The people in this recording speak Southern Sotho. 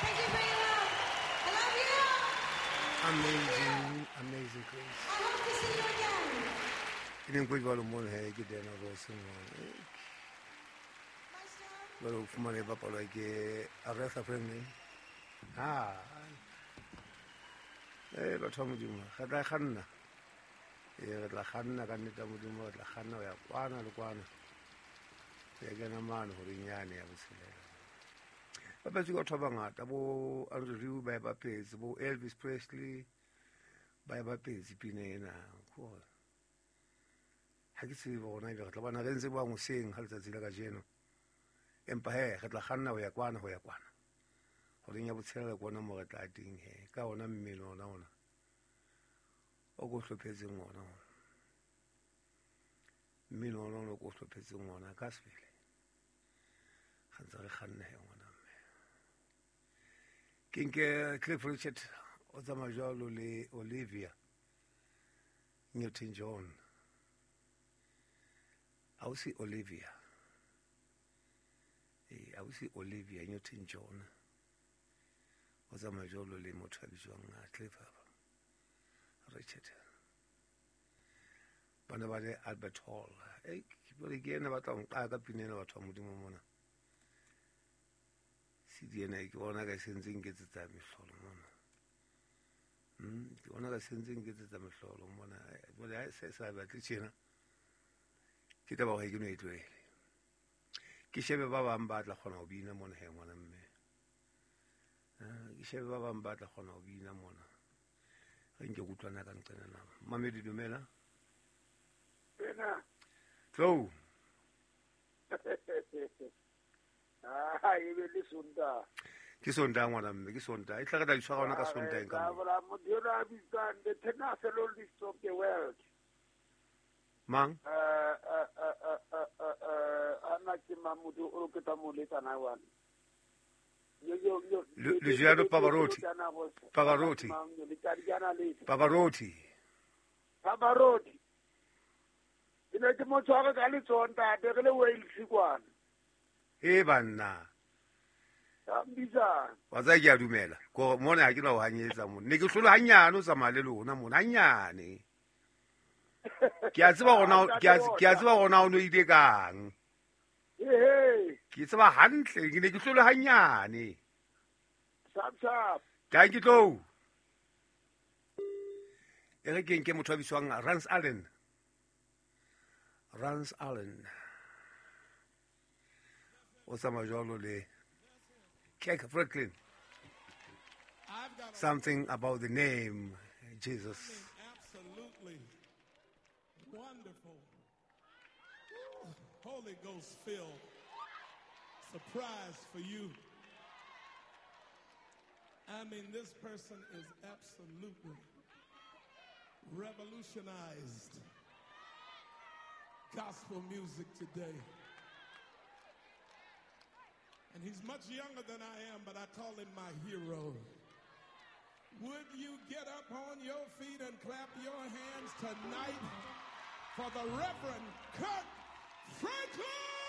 Thank you for your love. I love you. Amazing, amazing grace. I hope to see you again. Ke neng ko jwalo mona he ke Diana Ross mona. Jwale o fumane e bapalwa ke Aretha Franklin. Ha. Batho ba Modimo, re tla kganna. Re tla kganna ka nnete ya Modimo, re tla kganna ho ya kwana le kwana. Re kena mane horeng yane ya botshelela. Bapetse ke batho ba bangata, bo Andrew Rieu ba e bapetse, bo Elvis Presley ba e bapetse pina ena. Ko ha ke tsebe hore na ebe re tla bona re ntse bang hoseng ha letsatsi la kajeno. Empa he, re tla kganna ho ya kwana, ho ya kwana. Horeng ya botshelela ke ona moo re tla teng he, ka ona mmele ona ona. O ko hlophetseng ona ona. Mmele ona ona o ko hlophetseng ona ka sebele. Re ntse re kganna he ngwana mme. Ke nke Cliff Richard o tsamaya jwalo le Olivia Newton-John. Ausi Olivia. Ausi Olivia Newton-John. O tsamaya jwalo le motho a bitswang Cliff Richard. Bana ba le Albert Hall. Ke bone ke ena batla ho nqaka ka pina ena batho ba Modimo mona. CD ena ke bona ka se ntse nketsetsa mehlolo mona. Ke bona ka se ntse nketsetsa mehlolo mona. Jwale ha se sa batle tjena. Ke taba hore ke no e tlohele. Ke shebe ba bang ba tla kgona ho bina mona he ngwana mme. Ke shebe ba bang ba tla kgona ho bina mona. Re nke kutlwana ka nqena na. Mamedi dumela. Wena. Tlo. Ah, e be le Sontaha. Ke Sontaha ngwana mme, ke Sontaha. E tla re tla itshwara hona ka Sontaha ka mo. Ba motho a bitsang the tenacity of the world. Mang? Ana ke Mamudu o ke tla mo letsa na wa. Luciano Pavarotti. Pavarotti. Pavarotti. Pavarotti. Ke ne ke mo tshware ka letsoho ntate re le Wales kwana. E banna. Mbisa. Wa tsa ke a dumela. Ko mona ha ke na ho hanyetsa mona. Ne ke hlola hanyane o tsamaya le lona mona hanyane. Ke a tseba hona ke a tseba hona o no ile kang. Ke tseba hantle ke ne ke hlola hanyane. Sharp sharp. Thank you tlo. E re ke nke motho a bitswang Rance Allen. Rance Allen. O tsamaya jwalo le Kirk Franklin. Something about the name Jesus. Absolutely wonderful. Holy Ghost filled surprise for you. I mean, this person is absolutely revolutionized gospel music today. And he's much younger than I am, but I call him my hero. Would you get up on your feet and clap your hands tonight for the Reverend Kirk Franklin?